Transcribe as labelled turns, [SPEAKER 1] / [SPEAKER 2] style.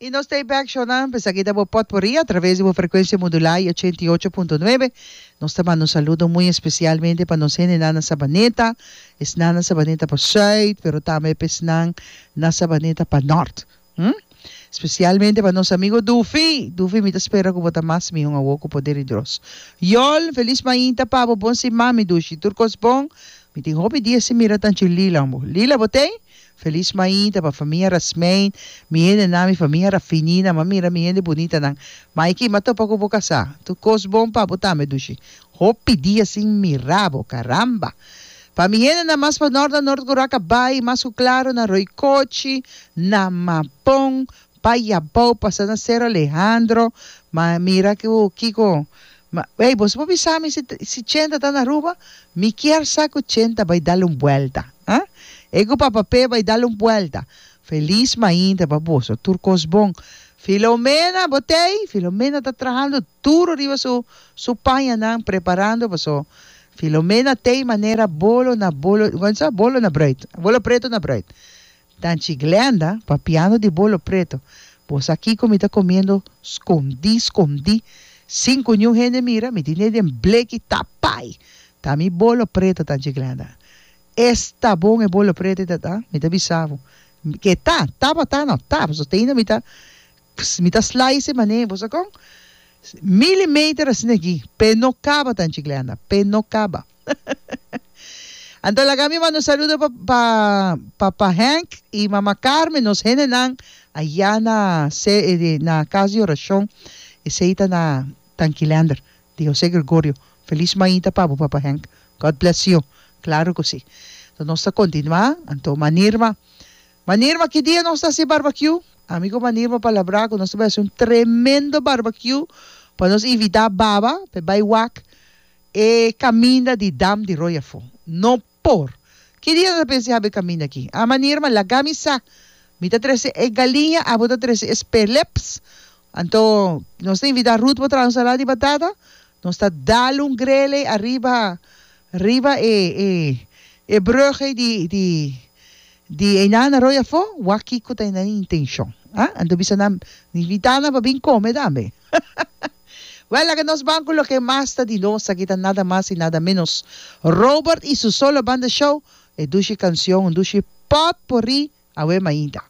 [SPEAKER 1] I nos ta e bek shownan, p'esaki ta bo potpourri a traves di bo frekuensia modulá i 88.9. Nos ta manda un saludo muy espesialmente pa nos hendenan na Sabaneta, esnan na Sabaneta pa sùit, pero tambe pa esnan na Sabaneta pa nòrt. Hm? Spesialmente pa nos amigo Dufi. Dufi, mi ta spera ku bo ta mas mihó awor ku poder di Dios. Yol, felis mainta pa bo, bon siman mi dushi. Tur kos bon? Mi tin hopi dia sin mira tanchi Lila bo. Lila, bo t'ei? Felis mainta pa famia Rasmijn, mi hendenan, mi famia Rafinina, m'a mira mi hende bunitanan. Maiki, m'a topa ku bo kasá. Tur kos bon pa bo tambe, dushi. Hopi dia sin mira bo, karamba! Pa mi hendenan mas pa nort na Nort Curaca bai, mas ku klaro na Roycochi, na Mapon, pa Yabou, pasa na Cerro Alejandro, m'a mira ku kiko Ma, ey, boso por bisa mi si, si Chenta ta na Aruba? Mi kier sa cu Chenta bay dal un buelta. Ha? E cu Papa Pe bay dal un buelta. Feliz mainta pa boso. Tur cos bon. Filomena, bo t'ey? Filomena ta trahando duro riba su, su pañanan, preparando paso Filomena t'ey manera bolo na bolo, con sa? Bolo na bruid. Bolo preto na bruid. Tanchi Glenda, papiando di bolo preto, Bo sa kiko mi ta komiendo skondí skondí, sin ku niun hende mira, mi tin e den bleki tapai. Ta mi bolo preto, Tanchi Glenda. Esta bon e bolo preto ei ta ta, mi ta bisa bo. Ke ta, tabata no, ta, pasobra te ainda mi ta, mi ta slice e manera, bo sa kon? Milimeter asina aki, p'e no kaba, Tanchi Glenda, p'e no kaba. Anto laga mi manda un saludo pa pa papa Henk y mama Carmen, nos hendenan allá na na cas di oracion, esey ta na Tankilander di Jose Gregorio. Feliz mainta pa bo papa Henk. God bless you. Claro cu si. Anto nos ta continua, anto Manirma, Manirma ki dia nos ta haci barbecue? Ami cu Manirma palabra cu nos ta bay haci un tremendo barbecue pa nos invita Baba pa e bay wak E kaminda di dam di rooi afó. No por! Ki dia ta pensa habi e kaminda aki? A manirma, laga mi sa. Mi ta trese e galiña, abo ta trese e speleps. Anto, nos ta invitá Ruth pa traha un salada di batata. Nos ta dal un grele ariba, riba e, e, e brug ei di, di, Di einan na rooi afó, wak kiko ta nan intenshon. Ah, anto bisa nan, invitá nan pa bin kome tambe. Wèl, laga nos ban ku loke mas ta di nos, aki ta nada mas i nada ménos Robert i su solo banda show, e dushi kanshon, un dushi pòtpurrí awe mainta.